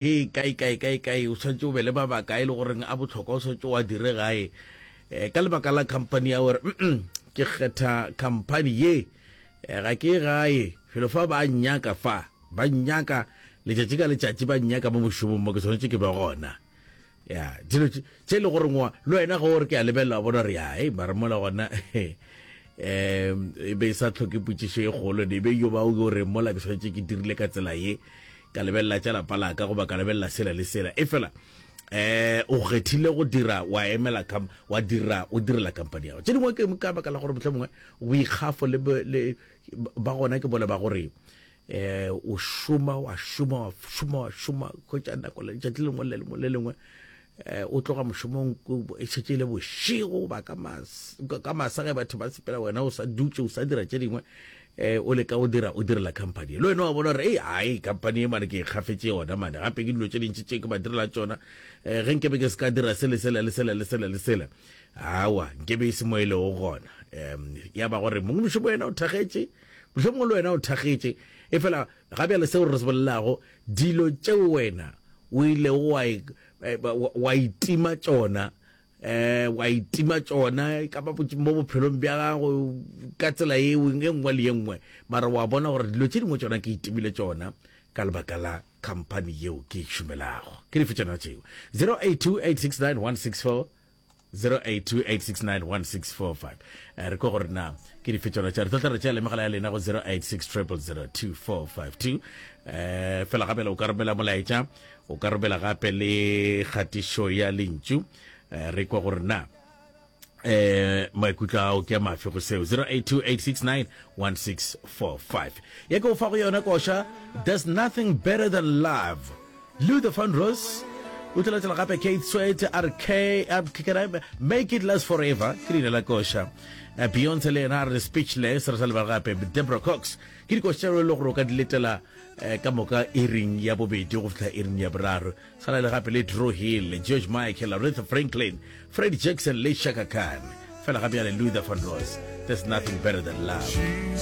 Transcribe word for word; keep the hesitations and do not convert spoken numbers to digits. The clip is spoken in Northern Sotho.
Ee, kae, kae, kae, kae, o swanetše o be le mabaka a e le goreng a bohlokwa, o swanetše o a dire gae. Eh, ka lebaka la khamphani ya gore, mm ke kgetha khamphani ye, eh, ga ke ye gae, felo fa ba nnyaka fa, ba nnyaka letšatši ka letšatši, ba nnyaka mo mošomong mo, ke swanetše ke be gona. Ya, dilo tše tše e le gore ngwa, le wena ge o re ke a lebelela, wa bona gore, ya, hei, mara mola gona, um e be e sa hloke potšišo e kgolo, ne e be yo ba o re mola ke swanetše ke dirile ka tsela ye, ka lebelela tša lapa la ka goba ka lebelela sela le sela. Efela um o kgethile go dira, wa emela kam, wa dira, o direla kampani ya gago. Tše dingwe ke ka baka la gore mohlomongwe boikgafo le, le ba gona ke bole ba gore eh o šoma wa šoma wa šoma wa šoma, hwetša nako letšatši le lengwe le lengwe le lengwe, eh o tloga mošomong e šetše e le bošego goba ka mas, ka masa ge batho ba sepela, wena o sa dutše o sa dira tše dingwe, eh o leka go dira, o direla company. Le wena wa bona gore ei, ai, company e mane ke e kgafetše yona mane, gape ke dilo tše dintši tše ke ba direla tšona, eh ge nkebe ke se ka dira se le sela le sela le sela le sela, aowa, nkebe e se mo e lego gona. Um ya ba gore mongwe mošomo wena o thagetše, mohlomongwe le wena o thagetše, efela ga bjale seo re se bolelago, dilo tšeo wena o ilego wa e, wa itima tšona, eh wa itima tšona ka ba mo bophelong bja gago ka tsela ye e nngwe le ye nngwe, mara wa bona gore dilo tše dingwe tšona ke itimile tšona ka lebaka la company yeo ke e šomelago. Ke dife tšona tšeo? zero eight two eight six nine one six four zero eight two eight six nine one six four five. Re kwa gore na ke dife tšona tša re tlo tla re tšea le megala ya lena go zero eight six triple zero two four five two. Eh fela gape o ka romela molaetša, o ka romela gape le kgatišo ya lentšu, re kwa gore na eh maikutlo ao ke a mafe go seo. Zero eight two eight six nine one six four five. Ya ke o fa go yona koša There's Nothing Better Than Love, Luther Vandross. O tla latela gape Keith Sweat a re K, can I Make It Last Forever, ke leina la koša. Beyonce le yena a re Speechless, re sa lebala gape Deborah Cox. Ke dikoša tšeo e le gore o ka di letela ka moka iring ya bobedi go fihla iring ya boraro. Sana le gape le Dru Hill, George Michael, Aretha Franklin, Freddie Jackson le Chaka Khan. Fela gape ya le Luther Vandross, There's Nothing Better Than Love.